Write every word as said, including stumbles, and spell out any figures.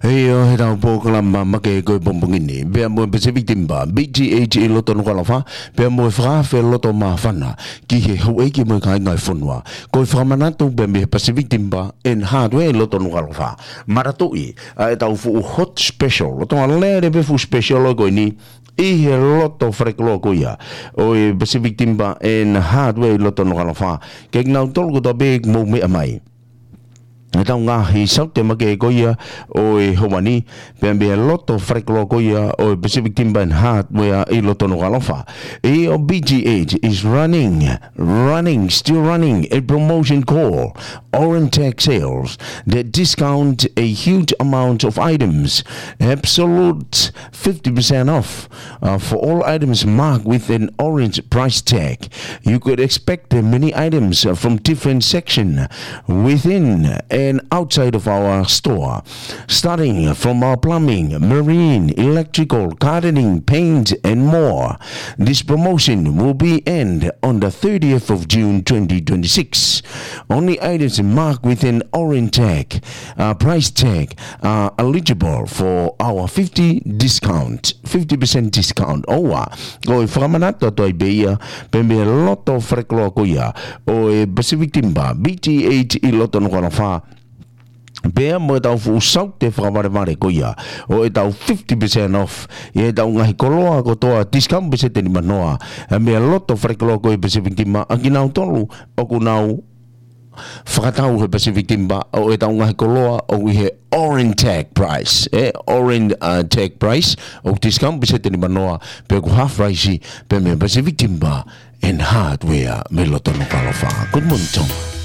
ʻIo, heʻetau polokalama makehe ko e pongipongi ni, pea mo e Pacific Timber, P T H ʻi loto Nukuʻalofa, pea mo e fakaafe loto māfana ki he houʻeiki mo e kāinga ʻo e fonua. Ko e fakamanatu pē mei he Pacific Timber and Hardware ʻi loto Nukuʻalofa. Manatuʻi ʻa ʻetau fuʻu hot special, loto alele pē fuʻu special ʻo e ko eni, ʻi he loto falekoloa ko ia ʻo e Pacific Timber and Hardware ʻi loto Nukuʻalofa. Kiate kinautolu kotoa pē ʻoku mou meʻa mai, ʻetau ngaahi saute makehe ko ia ʻo e ʻaho ni, pea mei he loto falekoloa ko ia ʻo e Pacific Timber and Hardware ʻi loto Nukuʻalofa. ʻIo, P T H is running, running, still running a promotion called Orentech Sales that discount a huge amount of items, absolute fifty percent off, uh, for all items marked with an orange price tag. You could expect, uh, many items, uh, from different section within and outside of our store, starting from our plumbing, marine, electrical, gardening, paint, and more. This promotion will be end on the thirtieth of June twenty twenty-six. Only items marked with an orange tag, uh, price tag, are eligible for our fifty discount, fifty percent discount. ʻOua, ko e fakamanatu atu ai pē ia, pea mei he loto falekoloa ko ia ʻo e Pacific Timber, P T H ʻi loto Nukuʻalofa, pea mo ʻetau fuʻu saute fakavalevale ko ia ʻo ʻetau fifty percent off ʻi heʻetau ngaahi koloa kotoa, discount peseti nimanoa, pea mei he loto falekoloa ko ia Pacific Timber, ʻa kinautolu ʻoku nau fakatau he Pacific Timber ʻo ʻetau ngaahi koloa ʻoku ʻi he orange tag price, ē, orange, uh, tag price, ʻoku discount peseti nimanoa, pea ʻoku half price pē mei he Pacific Timber and Hardware mei loto Nukuʻalofa. Good morning, Tom.